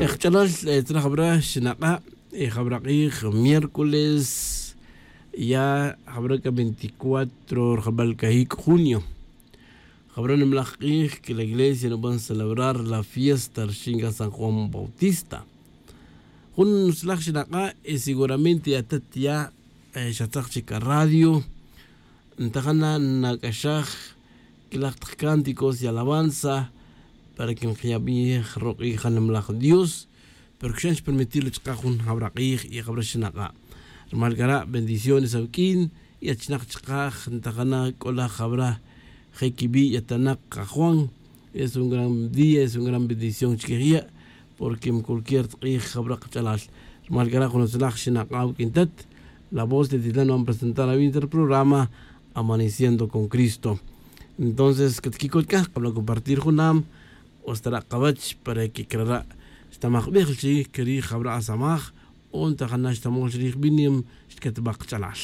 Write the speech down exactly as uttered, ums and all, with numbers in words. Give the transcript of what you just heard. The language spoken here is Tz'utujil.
Ejch'alal, tzra jabra xinak'a', jabra k'ij miércoles, ya jabra k'a veinticuatro rjabal cajic' junio. Jabra nimlaj k'ij que la iglesia nuban celebrar la fiesta rxin c'a san juan bautista. Jun nutzlaj xinak'a', y seguramente atat ya xatzak chic ca radio. Ntajana nac'axaj quilaj tak cánticos y alabanza para que nkiyabij rok'ij janimlaj dios. Pero cuxan xpermitir chaka jun jabra k'ij y jabra xinak'a'. Rumal cara' bendiciones awuq'uin y achinak chaka ntajana c'o laj jabra je' quibi' yatanak kajuan. Es un gran día, es un gran bendición chiquij ya'. Porque mi cualquier tk'ij jabra kach'alal. Rumal cara' jun utzlaj xinak'a' awuq'uin tat. La voz de titlan van presentar awinta el programa amaneciendo con cristo. Entonces catquicot c'a kabla' compartir junam, o stara' kawech para que crara' xtamajbej chi querij jabra' asamaj. O ntajana xtamol chirij binim xtquetbaj kach'alal.